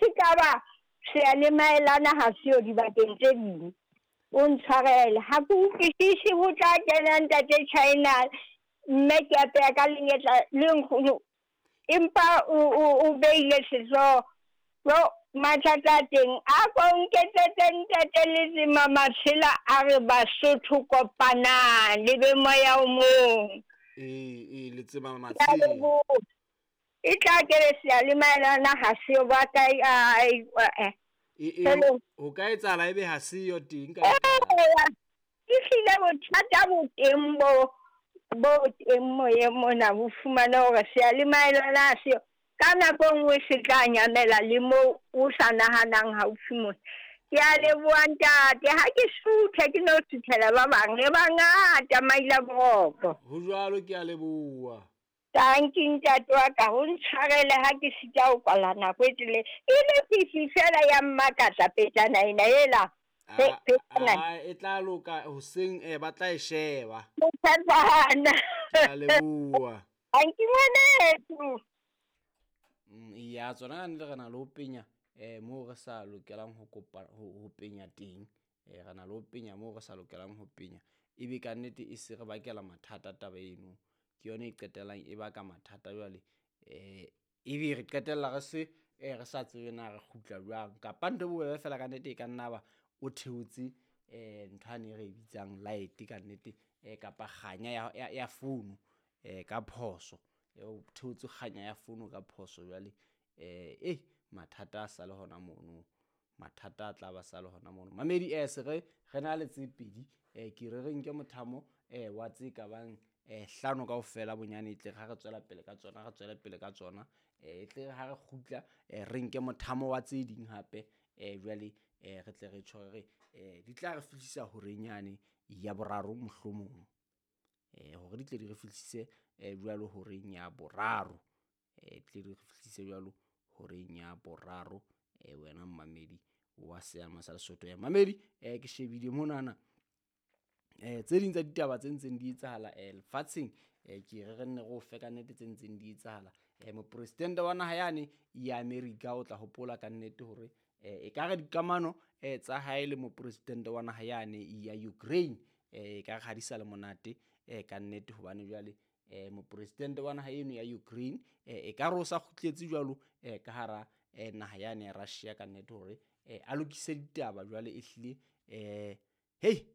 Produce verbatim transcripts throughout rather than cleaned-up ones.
se ka ba seyalemaelana ha seo dibakeng tse ding. O ntshwarele ha ke utlwisise ho tla kena ntate China mme ke apeya ka lenyetla le nkgono empa o o o beile sehlooho. Jo mathata a teng a ko nketsetse ntate Letsema Matshela a re Basotho kopanang le be moya o mong. Ee, ee, Letsema Ke a Matshela. leboha. E tla ke re seyalemaelana ha seo ba kae a eh. E, e, Hello. ho ka etsahala ebe ha seyo teng ka Eya, ehlile bothata bo teng bo bo teng moyeng mona bo fumane hore seyalemaelana ha seo. Ka nako e nngwe se tla nyamela le moo o sa nahanang haufi mona. Ke a leboha ntate, ha ke suthe ke no suthela ba bang re bangata maila boroko. Ho jwalo, ke a leboha. Tanki ntate wa ka, o ntshwarele ha ke sita ho kwala nako e telele. E le fifi fela ya mmakatsa petana ena ela. Pe- Ah, petana. ah, e tla loka hoseng, eh, ba tla e sheba. Motshetsana. Ke a leboha. Tanki ngwaneso. Mm, ya tsona ka nnete re na le ho penya eh moo re sa lokelang ho kopa ho, ho penya teng. Eh re na le ho penya moo re sa lokelang ho penya. Ebe ka nnete e se re bakela mathata taba eno. Ke yona e qetellang e baka mathata jwale. Eh ebe re qetella re se eh re sa tsebe na re kgutla jwang. Kapa ntho e bobebe fela ka nnete e ka nna ba o theotse eh ntho ane re e bitsang light ka nnete, eh kapa kganya ya, ya, ya founu eh ka phoso. E o theotse kganya ya founu ka phoso jwale. Eh eh mathata a sa le hona mono. Mathata a tla ba sa le hona mono. Mamedi eh se re re na le tse pedi, eh ke re re nke mothamo eh wa tse ka bang eh hlano kaofela bonyane, e tle ha re tswela pele ka tsona, re tswele pele ka tsona. Eh e tle ha re kgutla eh re nke mothamo wa tse ding hape, eh jwale eh re tle re tjho re eh di tla re fihlisa horeng yane ya boraro mohlomong. Eh hore di tle di re fihlise eh jwalo horeng ya boraro. Eh tle di re fihlise jwalo horeng ya boraro, eh wena mmamedi wa Seama sa Lesotho. Eh mamedi eh ke shebile monana eh tse ding tsa ditaba tse ntseng di etsahala eh lefatsheng, eh ke re re nne re o fe ka nnete tse ntseng di etsahala. Eh mopresidente wa naha yane ya Amerika o tla hopola ka nnete hore eh e ka re dikamano eh tsa hae le mopresidente wa naha yane ya Ukraine eh e ka re ha di sa le monate eh ka nnete, hobane jwale eh mopresidente wa naha eno ya Ukraine eh e ka re o sa kgutletse jwalo eh ka hara eh naha yane ya Russia ka nnete hore eh a lokise ditaba jwale ehlile eh hei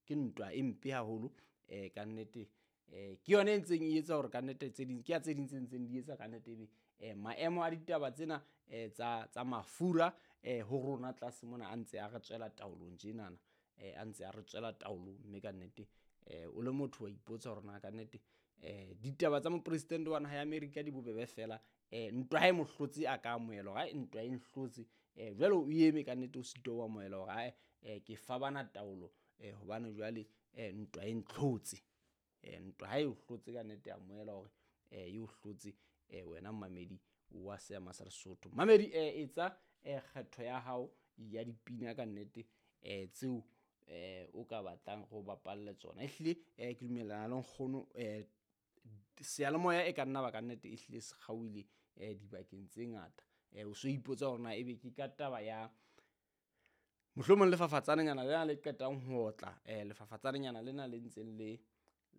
ke ntwa e mpe haholo eh ka nnete. Eh ke yona e ntseng e etsa hore ka nnete tse ding ke ya tse ding tse ntseng di etsa ka nnete ebe eh maemo a ditaba tsena eh tsa, tsa mafura eh ho rona tlase mona a ntse a re tswela taolong tjenana, eh a ntse a re tswela taolong, mme ka nnete eh o le motho wa ipotsa hore na ka nnete eh ditaba tsa mopresidente wa naha ya Amerika di bobebe fela. Eh ntwa ha e mo hlotse a ka amohela hore hai ntwa e nhlotse, eh jwale o eme ka nnete o sitwa ho amohela hore hai eh ke fa bana taolo, eh hobane jwale eh ntwa e ntlhotse. Eh ntwa ha e o hlotse ka nnete amohela hore eh e o hlotse, eh wena mmamedi wa Seama sa Lesotho. Mamedi eh etsa eh kgetho ya hao ya dipina ka nnete eh tseo eh o ka batlang go bapalle tsona. Ehlile eh ke dumellana le nkgono eh seyalemoya e ka nna ba ka nnete ehlile se kgaohile eh dibakeng tse ngata. Eh o so ipotsa hore na ebe ke ka taba ya mohlomong lefafatsanenyana lena le qetang ho otla, eh lefafatsanenyana lena le ntseng le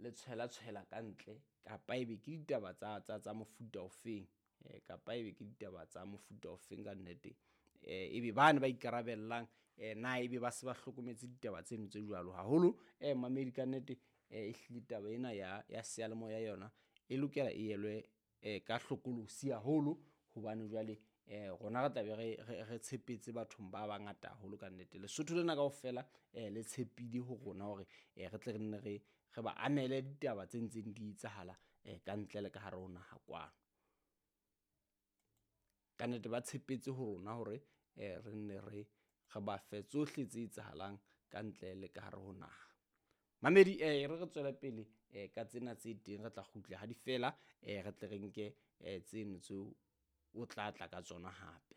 le tshwela tshwela ka ntle, kapa ebe ke ditaba tsa, tsa, tsa mofuta ofeng, eh kapa ebe ke ditaba tsa mofuta ofeng ka nnete. Eh ebe bane ba ikarabellang eh na ebe ba se ba hlokometse ditaba tseno tse jwalo haholo. Eh mamedi ka nnete eh ehlile taba ena ya, ya seyalemoya yona e lokela e elwe eh ka hlokolosi haholo, hobane jwale eh rona re tla be re, re, re tshepetse bathong ba bangata haholo ka nnete. Lesotho lena kaofela eh le tshepile ho rona hore eh re tle re nne re, re ba amele ditaba tse ntseng di etsahala eh ka ntle le ka hare ho naha kwano. Ka nnete ba tshepetse ho rona hore eh re nne re, re ba fe tsohle tse etsahalang ka ntle le ka hare ho naha. Mamedi eh re re tswele pele eh ka tsena tse teng, re tla kgutla ha di fela eh re tle re nke eh tseno tseo o tla tla ka tsona hape.